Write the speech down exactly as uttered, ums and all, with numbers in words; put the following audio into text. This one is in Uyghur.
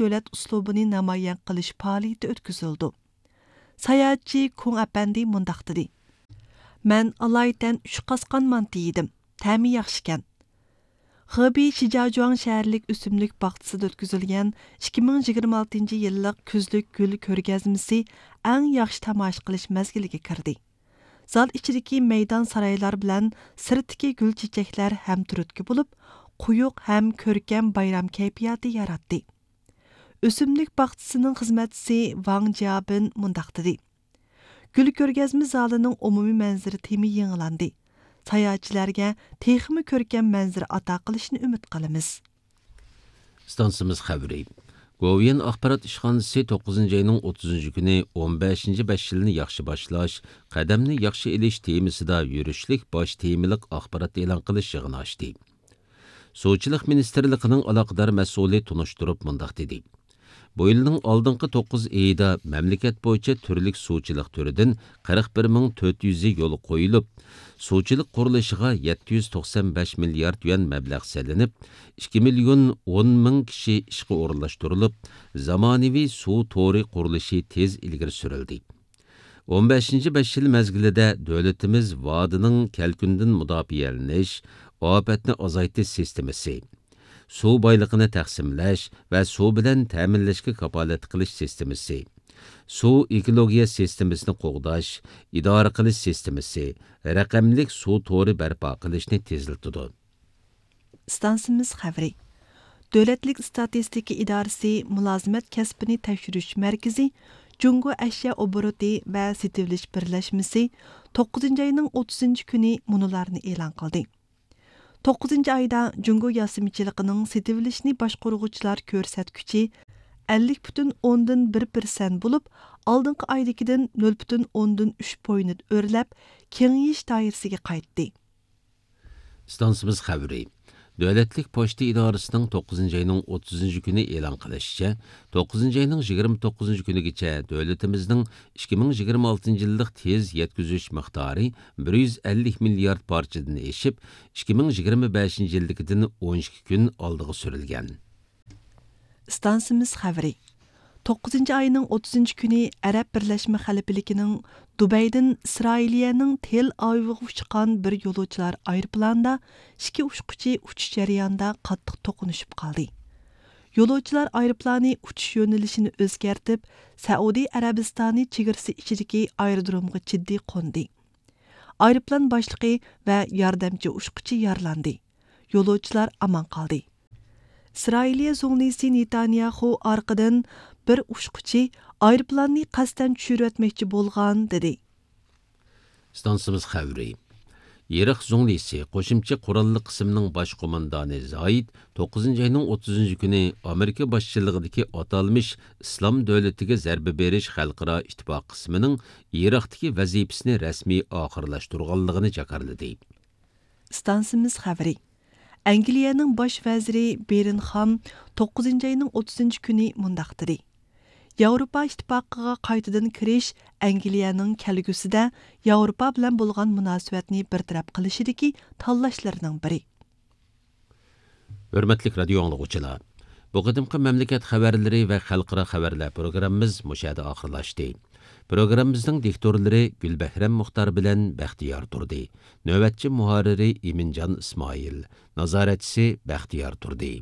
دۆلەت ئۇسلۇبىنى نامايان قىلىش پائالىيىتى ئۆتكۈزۈلىدۇ. ساياھەتچى كۇڭ ئەپەندى مۇنداق دېدى: مەن ئالايىتەن ئۈچ قاسقان مانتا يېدىم. تەمى ياخشىكەن. خېبېي شىجياجۇاڭ شەھەرلىك ئۆسۈملۈك باغچىسىدا ئۆتكۈزۈلگەن ئىككى مىڭ يىگىرمە ئالتىنچى يىللىق كۈزلۈك گۈل كۆرگەزمىسى ئەڭ ياخشى تاماشا قىلىش مەزگىلىگە كىردى. زال ئىچىدىكى مەيدان سارايلار بىلەن سىرتتىكى گۈل چېچەكلەر ھەم تۈرتكە بولۇپ، قويۇق ھەم كۆركەم بايرام كەيپىياتى ياراتتى. ئۆسۈملۈك باغچىسىنىڭ خىزمەتچىسى ۋاڭ جيابىن مۇنداق دېدى: گۈل كۆرگەزمە زالىنىڭ ئومۇمىي مەنزىرە تېمى يېڭىلاندى. ساياھەتچىلەرگە تېخىمۇ كۆركەم مەنزىرە ئاتا قىلىشنى ئۈمىد قىلىمىز. ئىستانسىمىز خەۋىرى. گوۋۇيۈەن ئاخبارات ئىشخانىسى توققۇزىنچى ئاينىڭ ئوتتۇزىنچى كۈنى ئون بەشىنچى بەش يىلنى ياخشى باشلاش، قەدەمنى ياخشى ئېلىش تېمىسىدا يۈرۈشلۈك باش تېمىلىق ئاخبارات ئېلان قىلىش يىغىنى ئاچتى. سۇچىلىق مىنىستىرلىقىنىڭ ئالاقىدار مەسئۇلى تونۇشتۇرۇپ مۇنداق دېدى: بۇ يىلنىڭ ئالدىنقى توققۇز ئېيىدا مەملىكەت بويىچە تۈرلۈك سۇچىلىق تۈرىدىن قىرىق بىر مىڭ تۆت يۈزى يولغا قويۇلۇپ، سۇچىلىق قۇرۇلۇشىغا يەتتە يۈز توقسان بەش مىليارد يۈەن مەبلەغ سېلىنىپ، ئىككى مىليون ئون مىڭ كىشى ئىشقا ئورۇنلاشتۇرۇلۇپ، زامانىۋى سۇ تورى قۇرۇلۇشى تېز ئىلگىرى سۈرۈلدى. ئون بەشىنچى بەش يىل مەزگىلىدە دۆلىتىمىز ۋادىنىڭ كەلكۈندىن مۇداپىئەلىنىش، ئاپەتنى ئازايتىش سىستېمىسى، سۇ بايلىقىنى تەقسىملەش ۋە سۇ بىلەن تەمىنلەشكە كاپالەتلىك قىلىش سىستېمىسى، سۇ ئېكولوگىيە سىستېمىسىنى قوغداش، ئىدارە قىلىش سىستېمىسى، رەقەملىك سۇ تورى بەرپا قىلىشنى تېزلىتىدۇ. ئىستانسىمىز خەۋىرى. دۆلەتلىك ئىستاتىستىكا ئىدارىسى مۇلازىمەت كەسپىنى تەكشۈرۈش مەركىزى جۇڭگو ئەشيا ئوبوروتى ۋە سېتىۋېلىش بىرلەشمىسى توققۇزىنچى ئاينىڭ ئوتتۇزىنچى كۈنى مۇنۇلارنى ئېلان قىلدى. توققۇزىنچى ئايدا جۇڭگو ياسىمىچىلىقىنىڭ سېتىۋېلىشنى باشقۇرغۇچىلار كۆرسەتكۈچى ئەللىك پۈتۈن ئوندىن بىر پىرسەنت بولۇپ، ئالدىنقى ئايدىكىدىن نۆل پۈتۈن ئوندىن ئۈچ پوينت ئۆرلەپ، كېڭىيىش دائىرىسىگە قايتتى. ئىستانسىمىز خەۋىرى. دۆلەتلىك پوچتا ئىدارىسىنىڭ توققۇزىنچى ئاينىڭ ئوتتۇزىنچى كۈنى ئېلان قىلىشىچە، توققۇزىنچى ئاينىڭ يىگىرمە توققۇزىنچى كۈنىگىچە دۆلىتىمىزنىڭ ئىككى مىڭ يىگىرمە ئالتىنچى يىللىق تېز يەتكۈزۈش مىقدارى بىر يۈز ئەللىك مىليارد پارچىدىن ئېشىپ، ئىككى مىڭ يىگىرمە بەشىنچى يىلدىكىدىن ئون ئىككى كۈن ئالدىغا سۈرۈلگەن. ئىستانسىمىز خەۋىرى. توققۇزىنچى ئاينىڭ ئوتتۇزىنچى كۈنى ئەرەب بىرلەشمە خەلىپىلىكىنىڭ دۇبەيدىن ئىسرائىلىيەنىڭ تېل ئاۋىۋىغا ئۇچقان بىر يولۇچىلار ئايروپىلانىدا ئىككى ئۇچقۇچى ئۇچۇش جەريانىدا قاتتىق توقۇنۇشۇپ قالدى. يولۇچىلار ئايروپىلانى ئۇچۇش يۆنىلىشىنى ئۆزگەرتىپ، سەئۇدى ئەرەبىستانى چېگرىسى ئىچىدىكى ئايرودرومغا جىددىي قوندى. ئايروپىلان باشلىقى ۋە ياردەمچى ئۇچقۇچى يارىلاندى. يولۇچىلار ئامان قالدى. ئىسرائىلىيە زۇڭلىسى نېتانياخۇ ئارقىدىن بىر ئۇچقۇچى ئايروپىلاننى قەستەن چۈشۈرۈۋەتمەكچى بولغان، دېدى. ئىستانسىمىز خەۋىرى. ئىراق زۇڭلىسى قوشۇمچە قوراللىق قىسىمنىڭ باش قوماندانى زايىد توققۇزىنچى ئاينىڭ ئوتتۇزىنچى كۈنى ئامېرىكا باشچىلىقىدىكى ئاتالمىش ئىسلام دۆلىتىگە زەربە بېرىش خەلقئارا ئىتتىپاق قىسمىنىڭ ئىراقتىكى ۋەزىپىسىنى رەسمىي ئاخىرلاشتۇرغانلىقىنى جاكارلىدى. ئىستانسىمىز خەۋىرى. ئەنگلىيەنىڭ باش ۋەزىرى بېرنخام توققۇزىنچى ئاينىڭ ئوتتۇزىنچى كۈنى مۇنداق دېدى: ياۋروپا ئىتتىپاقىغا قايتىدىن كىرىش ئەنگلىيەنىڭ كەلگۈسىدە ياۋروپا بىلەن بولغان مۇناسىۋەتنى بىر تەرەپ قىلىشىدىكى تاللاشلىرىنىڭ بىرى. ھۆرمەتلىك رادىيو ئاڭلىغۇچىلار، بۇ قېتىمقى مەملىكەت خەۋەرلىرى ۋە خەلقئارا خەۋەرلەر پروگراممىمىز مۇشۇ يەردە ئاخىرلاشتى. پروگراممىمىزنىڭ دىكتورلىرى گۈلبەھرەم مۇختار بىلەن بەختىيار تۇردى. نۆۋەتچى مۇھەررىرى ئىمىنجان ئىسمائىل. نازارەتچىسى بەختىيار تۇردى.